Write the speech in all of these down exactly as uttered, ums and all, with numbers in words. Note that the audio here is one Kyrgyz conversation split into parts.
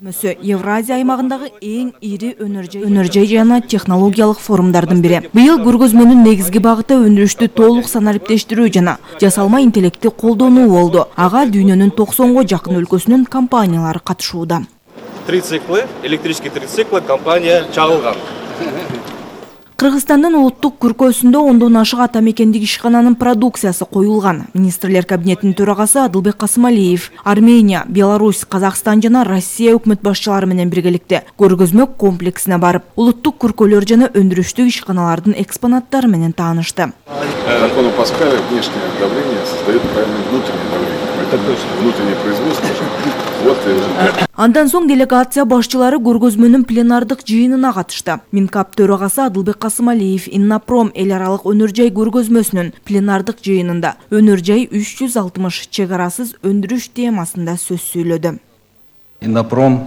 Евразия аймагындагы эң ири өнөр-жай жана технологиялык форумдардын бири. Быйыл көргөзмөнүн негизги багыты өндүрүштү толук санариптештирүү жана жасалма интеллектти колдонуу болду. Ага дүйнөнүн токсонго жакын өлкөсүнүн компаниялары катышууда. Трициклы, электрический трициклы компания чагылган. Кыргызстандын улуттук күркөсүндө ондон ашык ата мекендик ишкананын продукциясы коюлган. Министрлер кабинетинин төрагасы Адылбек Касымалиев Армения, Беларусь, Казакстан жана Россия өкмөт башчылары менен биргеликте көргөзмө комплексине барып, улуттук күркөлөр жана өндүрүштүк ишканалардын экспонаттары менен таанышты. Закону Паскаля внешнее давление создает правильное внутреннее давление. Это точно внутреннее производство. Андан соң делегация башчылары көргөзмөнүн пленардык жыйынына катышты. Минкап төрагасы Адылбек Касымалиев Иннопром эл аралык өнөр-жай көргөзмөсүнүн пленардык жыйынында өнөр-жай үч жүз алтымыш чек арасыз өндүрүш темасында сөз сүйлөдү. Иннопром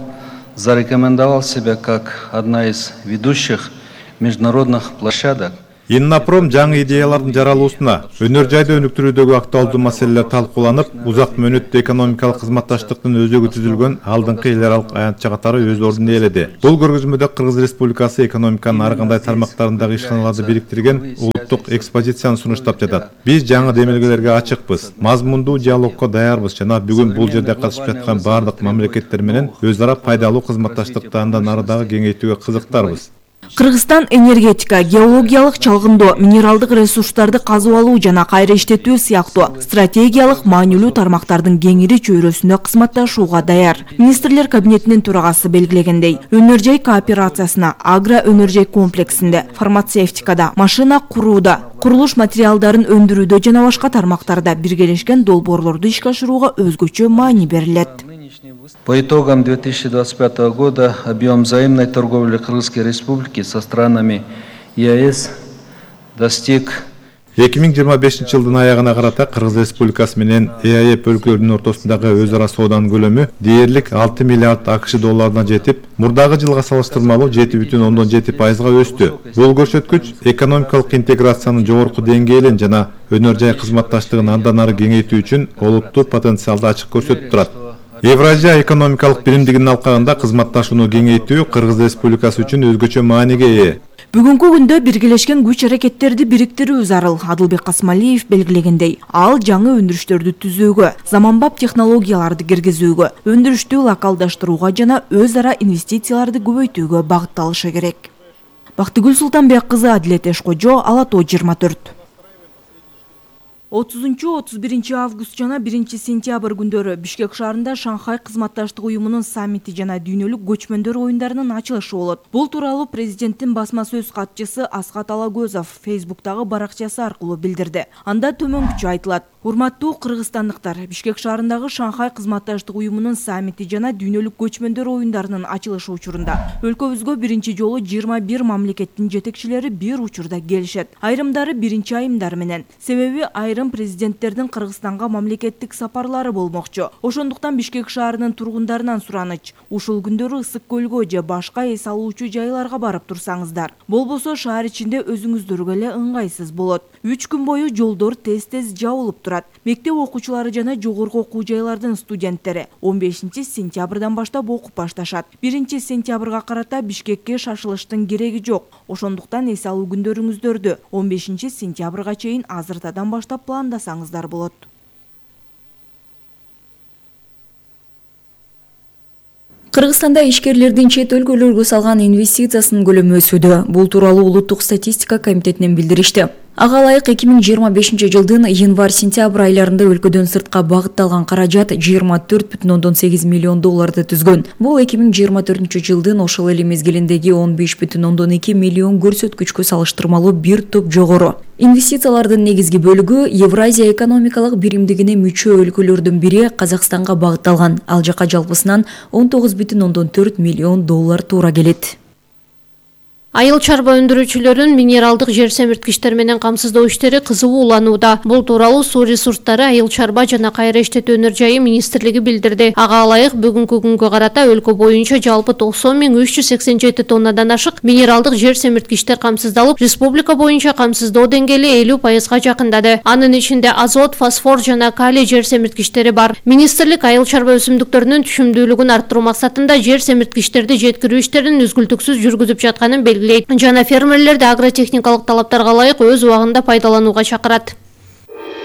зарекомендовал себя как одна из ведущих международных площадок. Иннопром жаңы идеялардын жаралуусуна, өнөр-жайды өнүктүрүүдөгү актуалдуу маселелер талкууланып, узак мөөнөттүү экономикалык кызматташтыктын өзөгү түзүлгөн алдыңкы эл аралык аянтча катары өз ордун ээледи. Бул көргөзмөдө Кыргыз Республикасы экономиканын ар кандай тармактарындагы ишканаларды бириктирген улуттук экспозицияны сунуштап жатат. Биз жаңы демилгелерге ачыкпыз, мазмундуу диалогко даярбыз жана бүгүн бул жерде катышып жаткан бардык мамлекеттер менен өз ара пайдалуу кызматташтыкты андан ары дагы кеңейтүүгө кызыктарбыз. Кыргызстан энергетика, геологиялык чалгындоо, минералдык ресурстарды казып алуу жана кайра иштетүү сыяктуу стратегиялык маанилүү тармактардын кеңири чөйрөсүндө кызматташууга даяр. Министрлер кабинетинин төрагасы белгилегендей, өнөр-жай кооперациясына агро өнөр-жай комплексинде, фармацевтикада, машина курууда, курулуш материалдарын өндүрүүдө жана башка тармактарда биргелешкен долбоорлорду ишке ашырууга өзгөчө маани берилет. По итогам две тысячи двадцать пятого года объем взаимной торговли Кыргызской Республики со странами ЕАЭС достиг эки миң жыйырма бешинчи жылдын аягына карата Кыргыз Республикасы менен ЭАЭП өлкөлөрүнүн ортосундагы өз ара сооданын көлөмү дээрлик алты миллиард АКШ долларына жетип, мурдагы жылга салыштырмалуу жети бүтүн ондон жети пайызга өстү. Бул көрсөткүч экономикалык интеграциянын жогорку деңгээлин жана өнөр-жай кызматташтыгын андан ары кеңейтүү үчүн олуттуу потенциалды ачык көрсөтүп турат. Евразия экономикалык биримдигинин алкагында кызматташууну кеңейтүү Кыргыз Республикасы үчүн өзгөчө мааниге ээ. Бүгүнкү күндө биргелешкен күч-аракеттерди бириктирүү зарыл. Адылбек Касымалиев белгилегендей, ал жаңы өндүрүштөрдү түзүүгө, заманбап технологияларды киргизүүгө, өндүрүштү локалдаштырууга жана өз ара инвестицияларды көбөйтүүгө багытталышы керек. Бактыгүл Султанбек кызы, Адилет Эшкожо, Ала Тоо жыйырма төрт. отузунчу отуз биринчи август жана биринчи сентябрь күндөрү Бишкек шаарында Шанхай кызматташтык уюмунун саммити жана дүйнөлүк көчмөндөр оюндарынын ачылышы болот. Бул тууралуу президенттин басма сөз катчысы Аскат Алагөзов Фейсбуктагы баракчасы аркылуу билдирди. Анда төмөнкүчө айтылат: урматтуу кыргызстандыктар, Бишкек шаарындагы Шанхай кызматташтык уюмунун саммити жана дүйнөлүк көчмөндөр оюндарынын ачылышы учурунда өлкөбүзгө биринчи жолу жыйырма бир мамлекеттин жетекчилери бир учурда келишет. Айрымдары биринчи айымдар менен. Себеби айрым президенттердин Кыргызстанга мамлекеттик сапарлары болмокчу. Ошондуктан Бишкек шаарынын тургундарынан сураныч: ушул күндөрү Ысык көлгө же башка эс алуучу жайларга барып турсаңыздар. Болбосо шаар ичинде өзүңүздөргө эле ыңгайсыз болот. үч күн бою жолдор тез-тез жабылып турат. Мектеп окуучулары жана жогорку окуу жайлардын студенттери он бешинчи сентябрдан баштап окуп башташат. биринчи сентябрга карата Бишкекке шашылыштын кереги жок. Ошондуктан эс алуу күндөрүңүздөрдү он бешинчи сентябрга чейин азыртадан баштап пландасаңыздар болот. Кыргызстанда ишкерлердин чет өлкөлөргө салган инвестициясынын көлөмү өсүүдө. Бул тууралуу Улуттук статистика комитетинен билдиришти. Ага ылайык эки миң жыйырма бешинчи жылдын январь-сентябрь айларында өлкөдөн сыртка багытталган каражат жыйырма төрт бүтүн ондон сегиз миллион долларды түзгөн. Бул эки миң жыйырма төртүнчү жылдын ошол эле мезгилиндеги он беш бүтүн ондон эки миллион көрсөткүчкө салыштырмалуу бир топ жогору. Инвестициялардын негизги бөлүгү Евразия экономикалык биримдигине мүчө өлкөлөрдүн бири Казакстанга багытталган. Ал жака жалпысынан он тогуз бүтүн ондон төрт миллион доллар туура келет. Айыл чарба өндүрүүчүлөрүн минералдык жер семирткичтер менен камсыздоо иштери кызуу уланууда. Бул тууралуу Суу ресурстары, айыл чарба жана кайра иштетүү өнөр жайы министрлиги билдирди. Ага ылайык бүгүнкү күнгө карата өлкө боюнча жалпы токсон миң үч жүз сексен жети тоннадан ашык минералдык жер семирткичтер камсыздалып, республика боюнча камсыздоо деңгээли элүү пайызга жакындады. Анын ичинде азот, фосфор жана калий жер семирткичтери бар. Министрлик айыл чарба өсүмдүктөрүнүн түшүмдүүлүгүн арттыруу максатында жер семирткичтерди жеткирүү иштерин үзгүлтүксүз жүргүзүп жатканын белгилейт жана фермерлерди агротехникалык талаптарга ылайык өз убагында пайдаланууга чакырат.